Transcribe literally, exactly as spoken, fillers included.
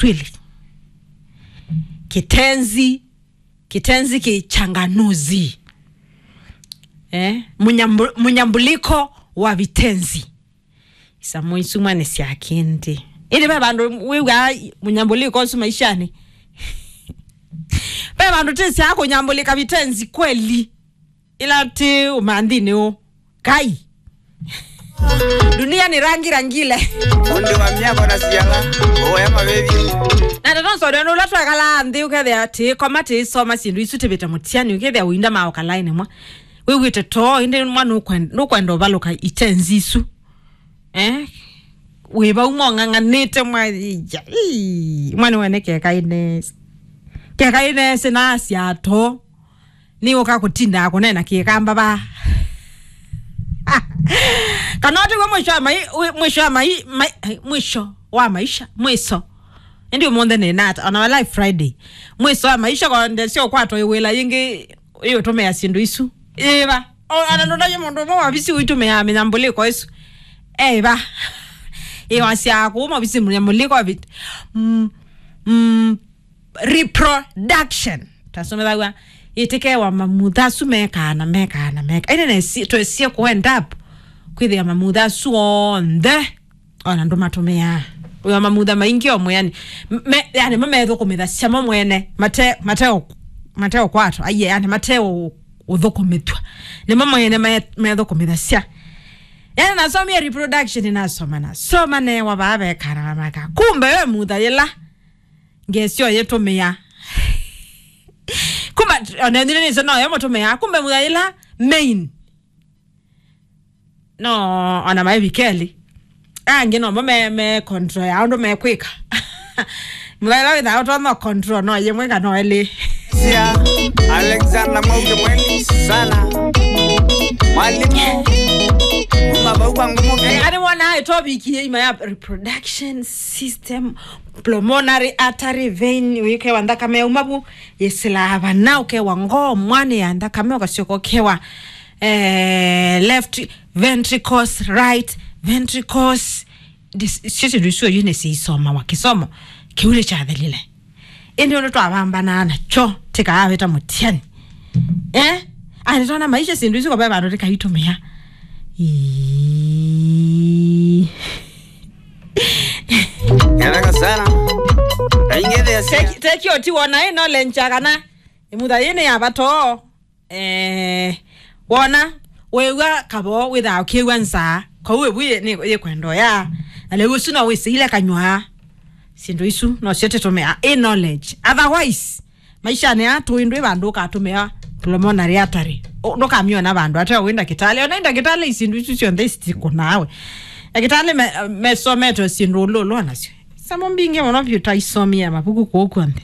Kiswahili. Kitenzi, kitenzi kichanganuzi. Eh, mnyambu-, mnyambuliko wa vitenzi. Isamu isu mwane sya kĩndĩ. Ĩndĩ ve vandũ wĩw'aa mũnyambũlĩko ũsu maishanĩ? Ve vandũ tĩsyaa kũnyambũlĩka vitenzi kweli? Ĩla tĩ ũmanthinĩ ũ? Kai. Dunia ni rangi rangile. Fundi wa miako na siala, oya mabebi. Na ndeto nsonde nũla twekalaa nthĩ ũkethĩa tĩkoma tĩsoma syĩndũ isu tĩvĩte mũtiani ũkethĩa ũinda maoka laini mwa. Wĩw'ĩte too, ĩndĩ mwa nũkwenda, nũkwenda ũvalũka itenzi isu. Eh? Wĩ vau mong'ang'anĩte mwa, ii, mwa nĩwene kekainesi. Kekainesi nasya too. Nĩ ũka kũtindaa kũneena kĩkamba va. Kana ũtiwe mwisho wa mai-, wi-, mwisho wa mai-, mai-, ai, mwisho wa maisha, mwiso. Ĩndĩ ũmũnthĩ nĩ nata, ona wala Friday. Mwiso wa maisha kwa ndesyo kwatwa ĩwĩla yĩngĩ ĩũtũmĩa syĩndũ isu. Ĩva. O, ana ndũndavye mũndũ ũmwe wavisi ũitũmĩaa mĩnyambũlĩko ĩsu. Ĩva. Ĩwasya kũu mavisi mĩnyambũlĩko avi-, mm, mm, reproduction. Tasomethaw'a ĩtĩkewa mamutha asu mekaa na mekaa na mekaa. Ĩndĩ nesi-, twesie kũ end up kwĩthĩa mamutha asu onthe ona ndũmatũmĩaa. Wĩwa mamutha maingĩ o mwĩanĩ. Me, yani, mamethũkũmĩthasya mo mwene, mate, mate, mate ũkwatwa, aiye, yani, mate ũ-, ũthũkũmĩthw'a. Nĩmo mwene me-, methũkũmĩthasya. Yani, nasomie reproduction, nasoma, nasoma, newa vaa vekana na maka. Kumbe we mutha yĩla, ngesyo yĩtũmĩa. Kumbe, ona nĩnĩ nĩsĩ no yo mũtũmĩa. Kumbe mutha yĩla main. No, ona maĩ vikeli. Angĩ nomo me, me control ya ũndũ mekwĩka. Mũthaĩla wĩthaa ũtonya control no yĩmwe kana elĩ. Sia, Alexander Mwauke mweni sana. Mwalimu, kuma vau kwa ngumu. Eh, ani wona ĩtopikie ima ya reproduction system, pulmonary artery vein, wĩkewa nthakame ya umavu, yĩsĩlaa vana, ũkewa ngoo, mwanĩ ya nthakame, ũkasyoka ũkewa eh, left ventricles, right ventricles. Dis-, sio syĩndũ isu oyu nĩsiisomawa kĩsomo kĩu nĩkyathelile. Ĩndĩ ũndũ twavambanaa nakyo tĩkaawĩta mũtiani. Eh? Ani tona maisha syĩndũ isu kwa ve vandũ tĩkaitũmĩa. Ii. Ngataka sana. Aingethea sia. Teki, teki oti wona ĩ knowledge kana ĩmutha yĩnĩ ya vatoo. Eh, wona, wĩw'a kavoo wĩthaa ũkĩw'a nzaa, kau ĩvu yĩ-, nĩ, yĩkwenda ũya. Na lĩu ũsu no wĩsĩile kanywaa. Syĩndũ isu no syo tũtũmĩa, ĩ knowledge. Otherwise, maishanĩ aa tũĩ ndwĩ vandũ ũkatũmĩa pulmonary artery. Ũ-, ndũkamyona vandũ ate wĩ ndakĩtalĩ. Ona ĩ ndakĩtalĩ syĩndũ isu syonthe isitikũnaawe. Ndakĩtalĩ me-, mesomete syĩndũ ũlũlũ nasyo. Samo mbingĩ mũno vyũ taisomie mavuku kũu kw'onthe.